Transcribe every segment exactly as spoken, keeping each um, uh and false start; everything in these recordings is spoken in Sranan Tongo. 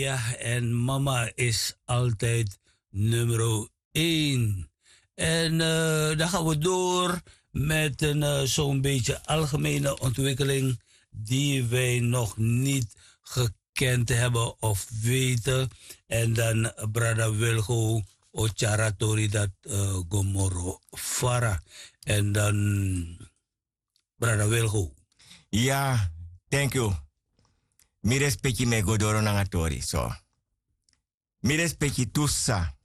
Ya, en mama is altijd nummer één. En dan gaan we door met een zo'n beetje algemene ontwikkeling die wij nog niet gekend hebben of weten. En dan brada Wilgo o tyari a tori dati go moro fara. En dan brada Wilgo. Ya, thank you. Mi respeki, mi e go doro nanga tori so. Mi respeki tu sisa.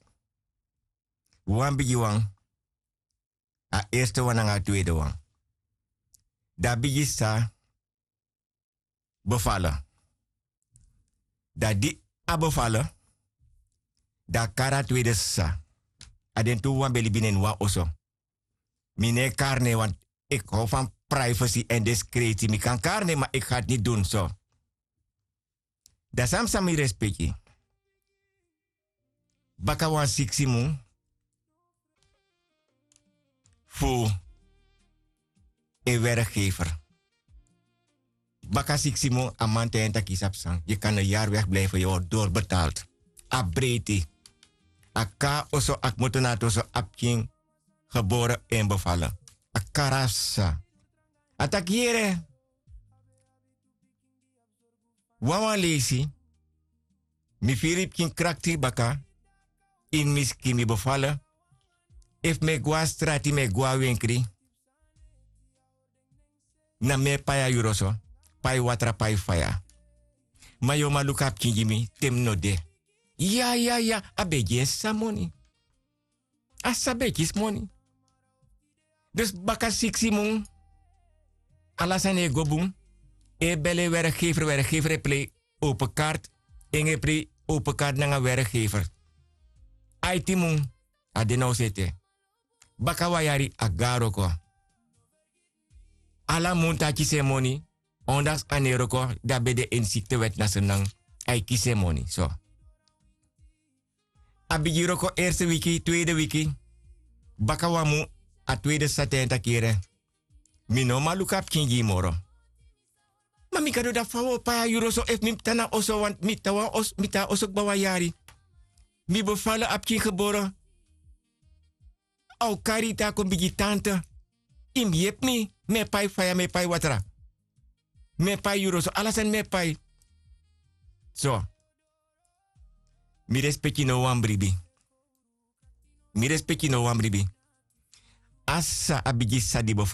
Wan bigi wan, a erste wan nanga a tweede wan. Dan a bigi sisa befala. Dan di a befala, dan a kari a tweede sisa. A den tu wan ben libi na ini wan oso. Mi no e kari nen, want ik hou van privacy en discretie. Mi kan kari nen, ma ik ga het niet doen so. Dan san mi sa mi respeki. Baka wan siksi mun fu en werkgever. Baka siksi mun a man taigi en taki: yu sabi san, yu kan een jaar wegblijven, yu word doorbetaald. A breiti. A kon na oso, a kmoto na a toso, a pikin gebore en bevallen. A kari a sisa. A taki: yere, wawan leisi, mi firi yu pikin krakti baka, ini mi skin, mi befala. Efu mi e go na strati, mi e go na wenkri, na mi e pai a yuru oso, pai watra, pai faya. Ma yu o man luku a pikin gi mi te mi no de. Ya, ya, ya, a ben gi en sisa moni. A sisa ben e kisi moni. Dus baka siksi mun, ala sani e go bun. E beli en werkgever, werkgever e plei open kaart. En e plei open kaart nanga werkgever. Aiti mun, a de na oso ete. Baka wan yari a go na wroko. Ala mun a kisi en moni. Ondanks a no e wroko, di a ben de ini siktewet na Sranan, a e kisi en moni so. A bigin wroko, eerste wiki, tweede wiki. Baka wan mun, a tweede sisa taigi en taki: yere, mi no o man luku a pikin gi yu moro. Ma mi Gado, dan fa wi o pai a yuru oso efu mi tan na oso, want mi tan wan os-, mi tan na oso kba wan yari. Mi befala, a pikin gebore. A o kari yu te a kon bigi tante. Yu mus yepi mi. Mi e pai faya, mi e pai watra. Mi e pai yuru oso, ala sani mi e pai. So. Mi respeki no wan bribi. Mi respeki no wan bribi. A sisa, a bigi sisa di